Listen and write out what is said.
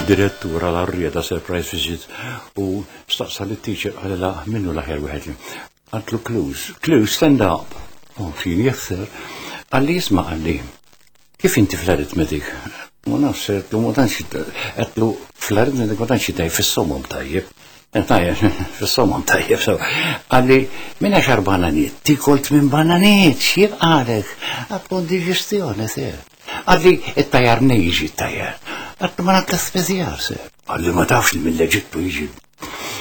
Id-direttur għal arrieda surprise visit u staqsa lit-teacher qalilha min hu l-aħjar wieħed li. Qaltlu Clues. Clues, stand up. Oh, fin yes sir. Qalli isma' qalli. Kif inti fl-arithmetic? Ma nafx, għedtlu ma tantx għedtlu fl-arithmetic ma tantx tajjeb fis-somom tajjeb. Tajjeb, fis-somom tajjeb. So, qalli minn għaxar bananiet, tikol tmien bananiet, x'jibqalek? Għedtlu diġestjoni, sir. Qalli it-tajjar nej jiġi t-tajjar. Għedtlu ma nagħtla spezjar, sir. Qalli ma tafx li mill-Eġittu jiġi.